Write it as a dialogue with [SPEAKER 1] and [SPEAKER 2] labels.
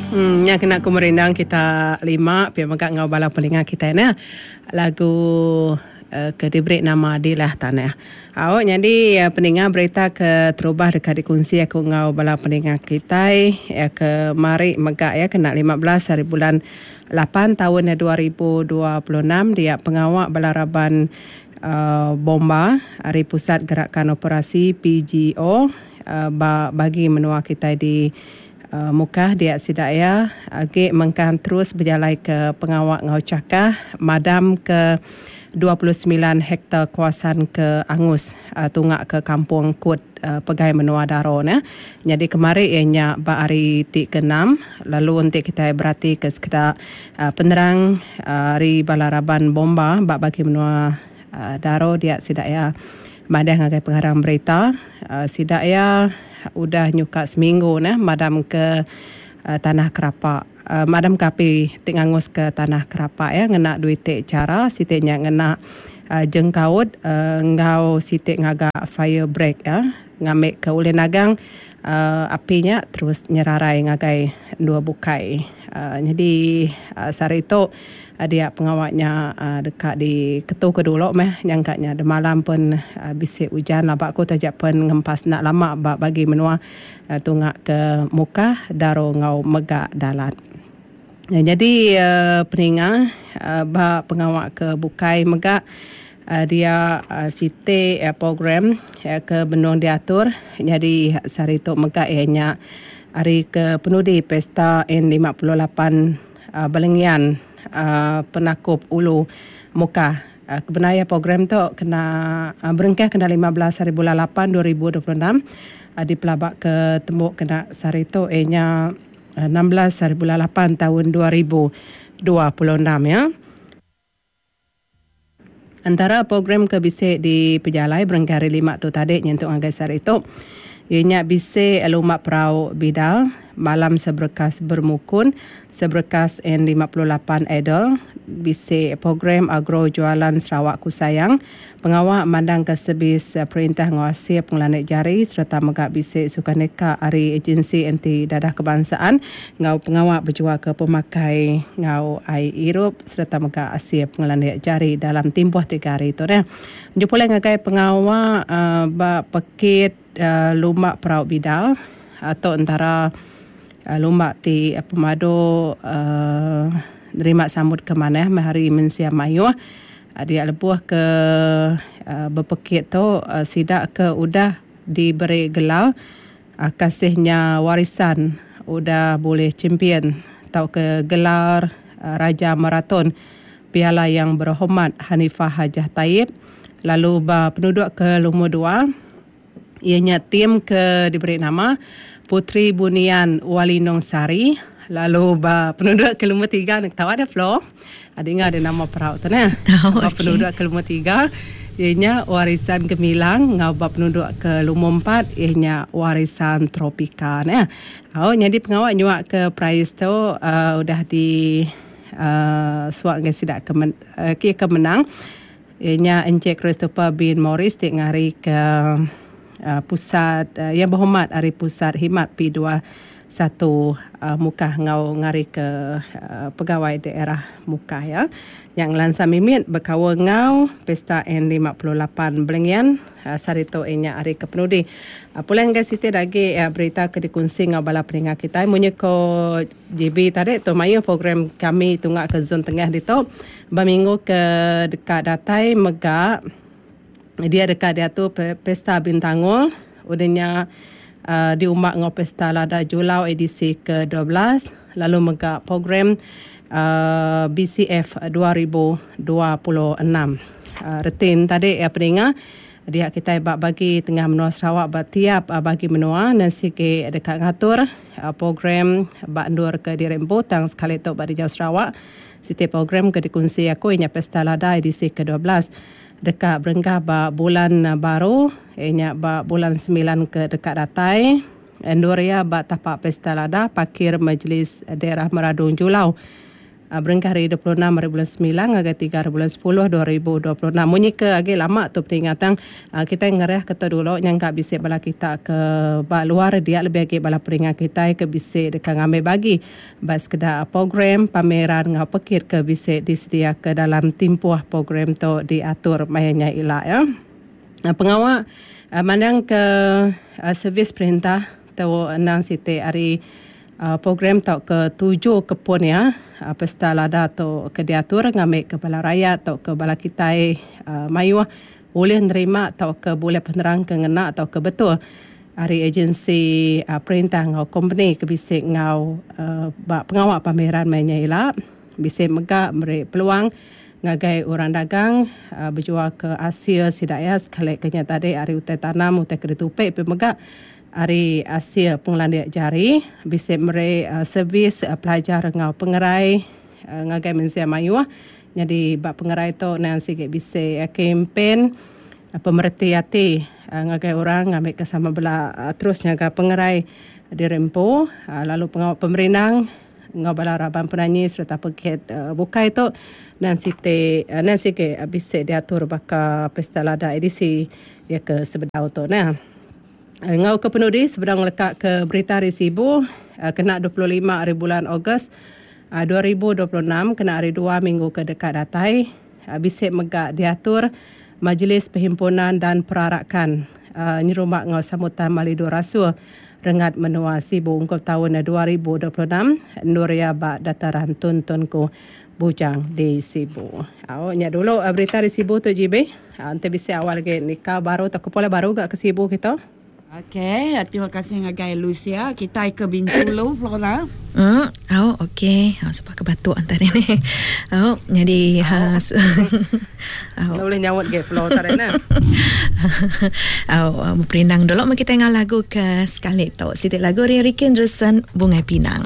[SPEAKER 1] Nya kena ku merindang kita lima pia mega enggau bala peninga kitai neh lagu ke diberi nama Dilah Tanah. Au nyadi peninga berita ke terubah deka dikunsi aku enggau bala peninga kitai ke mari mega iya kena 15 hari bulan lapan taun 2026 dia pengawa bala raban Bomba ari Pusat Gerakan Operasi PGO ba bagi menua kitai di Mukah dia sida iya agi mengkang terus bejalaika pengawa enggau chakah madam ke 29 hektar kawasan ke angus tunga ke Kampung Kut pegai menua Daro ne. Nyadi kemari iya nya ba hari ti ke enam lalu enti kitai beratika sekeda penerang ari bala raban bomba ba bagi menua Daro dia sida iya madah ngagai pengarang berita sida iya udah nyuka seminggu neh madam ke tanah kerapa madam ke api ti ngangus ke tanah kerapa iya ngena dua iti chara siti nya ngena jengkaut enggau siti ngaga fire break iya ngambi ke ulih nagang api nya terus nyerarai ngagai endur bukai. Nyadi sehari tu dia pengawa nya deka diketuka dulu meh nyangka nya demalam pun bisi ujan laba ku taja pen ngempas enda lama ba bagi menua tunga ke Mukah, Daro enggau mega Dalat. Nyadi peninga ba pengawa ke bukai mega dia siti program ke benung diatur nyadi sehari tu mega iya nya hari ke penudi Pesta N 58 Balengian Penakup Ulu Mukah. Kebenar iya program tu kena berengkah kena 15 hari bulan lapan 2026 dipelaba ke tembu kena sehari tu iya nya 16 hari bulan lapan taun 2026 iya. Entara program ke bisi dipejalai berengkah hari lima tu tadi nyentuk ngagai sehari tu iya nya bisi lumba perau bidal, malam seberkas bermukun, seberkas N 58 Idol, bisi program agro jualan Sarawak Ku Sayang, pengawa mandangka servis perintah enggau asil pengelandik jari sereta mega bisi sukaneka ari Agensi Anti Dadah Kebangsaan enggau pengawa bejualka pemakai enggau ai irup sereta mega asil pengelandik jari dalam timpuh tiga hari tu deh. Nyu pulai ngagai pengawa ba pekit lumba perau bidal tu entara lumba ti pemadu nerima sambut ke manah meh ari mensia mayuh. Dia lebuh ke bepekit tu sida ke udah diberi gelar kasih nya warisan udah bulih champion tauka gelar Raja Maraton Piala Yang Berhormat Hanifah Hajah Taib lalu ba penuduk ke lumur dua iya nya tim ke diberi nama Puteri Bunian Walinong Sari lalu ba penuduk ke lumur tiga ne ketawa deh Flo dinga deh nama perau tu neh. Ba penuduk ke lumur tiga iya nya Warisan Gemilang enggau ba penuduk ke lumur empat iya nya Warisan Tropika neh. Au nyadi pengawa nyuak ke perais tu uhh udah di uhh suak ngagai sida ke ke menang iya nya Encik Christopher bin Morris ti ngari ke Pusat Yang Berhormat ari Pusat Khidmat P dua satu Mukah enggau ngari ke Pegawai Daerah Mukah iya. Nya ngelansa mimit bekaul enggau Pesta N 58 Belengian sehari tu iya nya hari ke penudi. Pulai ngagai siti da agi berita ke dikunsi enggau bala peninga kitai munyi ko JB tadi tu mayuh program kami tunga ke zon tengah ditu. Ba minggu ke deka datai mega dia deka diatur Pesta Bintangor udah nya uhh diumba enggau Pesta Lada Julau edisi ke 12 lalu mega program uhh BCF 2026. Reti ne tadi peninga Dia kitai ba bagi tengah menua Sarawak ba tiap bagi menua ne sigi deka ngatur program ba endur ke diri empu tang sekali tu ba dijau Sarawak siti program ke dikunsi aku iya nya Pesta Lada edisi ke 12 deka berengkah ba bulan baru iya nya ba bulan semilan ke deka datai endur iya ba tapak Pesta Lada Parkir Majlis Daerah Meradong Julau. Berengkah ari 26 ari bulan semilan ngagai tiga ari bulan sepuluh 2026. Munyi ke agi lama tu peninga tang kitai ngerah ke tu dulu nyangka bisi bala kita ke ba luar dia lebih agi bala peninga kitai ke bisi deka ngambi bagi ba sekeda program pameran enggau pekit ke bisi disediaka dalam timpuh program tu diatur maya nya ila ya. Pengawa mandang ke servis perintah tu endang siti ari Program tauka tuju ke pun iya, Pesta Lada tu ke diatur ngambika bala rayat tauka bala kitai mayuh ulih nerima tauka bulih penerang ke ngena tauka betul ari agensi perintah enggau kompeni ke bisi enggau ba pengawa pameran maya nya ila. Bisi mega meri peluang ngagai orang dagang bejualka asil sida iya sekali ke nya tadi ari utai tanam utai ke ditupi pia mega Ari asil pengelandik jari, bisi meri servis pelajar enggau pengerai ngagai mensia mayuh. Nyadi ba pengerai tu endang sigi bisi kempen pemereti ati ngagai orang ngambika sama bela terus nyaga pengerai diri empu lalu pengawa pemerindang enggau bala raban penanyi sereta pekit bukai tu endang siti endang sigi bisi diatur baka Pesta Lada edisi iya ke sebedau tu neh. Enggau ke penudi sebedau ngeleka ke berita ari Sibu kena 25 ari bulan Ogos 2026 kena hari dua minggu ke deka datai bisi mega diatur Majlis Perhimpunan dan Perarakan nyerumba enggau Sambutan Malidu Rasul Rengat Menua Sibu ungkup taun 2026 endur iya ba Dataran Tun Tunku Bujang di Sibu. Au nya dulu berita di Sibu tu GB. Enti bisi awal agi nikal baru tauka pulai baru ga ke Sibu kitu.
[SPEAKER 2] Ok, terima kasih ngagai Lucia kitai ke Bintulu Flora.
[SPEAKER 3] Hmm, au okey. Au sebab ke batuk antara ni. Au jadi ha
[SPEAKER 1] au. Boleh nyaut ge Flo tadi nah.
[SPEAKER 3] Au beperindang dulu meh kitai ngau lagu ke sekali tu. Siti lagu ari Ricky Anderson Bungai Pinang.